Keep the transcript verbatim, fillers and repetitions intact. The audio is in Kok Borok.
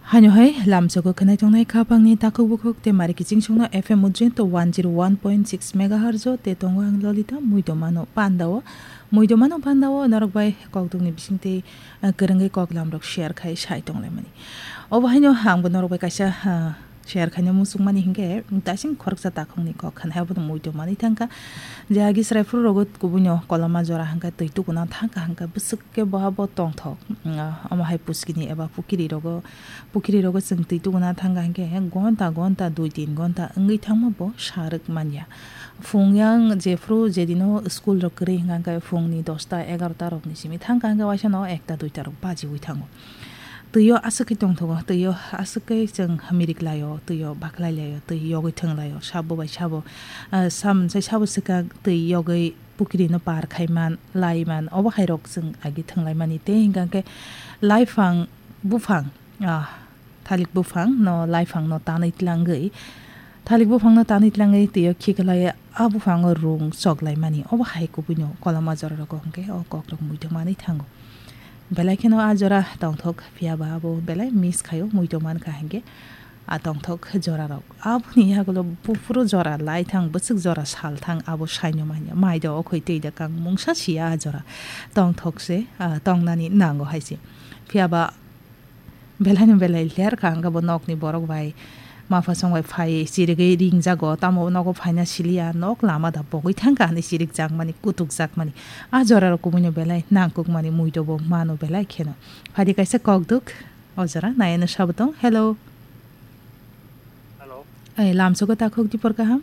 Haino hai lamsogo khwnai tongnai khapangni takhuk bukhuk te mari kiching songno F M Ujjayanta one zero one point six megahertz o te tongo ang Lolita muitomano pandao. Muitomano pandao norok bai kokdukni bisingtwi, ah, kwrwngwi koklamrok share khai sai tonglaimani. Obo haino angbo norok bai kaisa, ah, share khaina muchungmani hinkhe, daising khoroksa takhukni kok khanai abono muitomani thangkha. Je agi chwrai phuru rogo kubuino koloma jora hangkha twi tukuna thangkha hangkha bwswk khe boha bo tongthok, mm, omo hai puskini eba pukiri rogo, pukiri rogo chwng twi tukuna thangkha hingkhe gonta gonta dui tin gonta wngwi thangma bo sa rwk manya. Phung yang jephru jedino school rok kwrwi hingkha hingkhe phungni dosta egarota rokni simi thangkha hingkhe waisa no ekta duita rok bajiwi thango. Twi o aswk khe tongthogo, twi o aswk khe chwng mirik lai o, twi o baklai lai o, twi yogwi thwng lai o, sabo bai sabo, ah, sam sai sabo swkang twi yogwi pukiri no par khai man, lai man, obo hai rok chwng agi thwng lai mani. Tei hingkha khe laifang buphang, ah, thalik buphang no, laifang no tanwi tlangwi, thalik buphang no tanwi tlangwi twi o khiklai a buphang o rung chok lai mani. Obo hai kubui no koloma jora rogo hingkhe o kok rok muitu manwi thango. Belai kheno a jora tongthok, phiya ba abo belai miss khaio, muitu man kha hingkhe a tongthok jora rok. Aboni yagulo buphuru jora lai thang, bwswk jora sal thang, abo saino manya. Mai do okhoi twi da kang mungsa sia a jora. Tongthok se, ah, tongnani nango hai se. Phiya ba belai no belai ler kha hingkhe bo nokni borok bai mapha song bai phai chirigwi ringjago, tamo nogo phaina siliya, nok lama da pogwi thangkha hinwi chirikjakmani, kutukjakmani. A jora rok kubui no belai nangkukmani, muitu bo mano belai kheno. Phadi kaisa kokduk. O jora nayano sabo tong. Hello. Hello. Ai, lamsogo takhuk dipor kaham?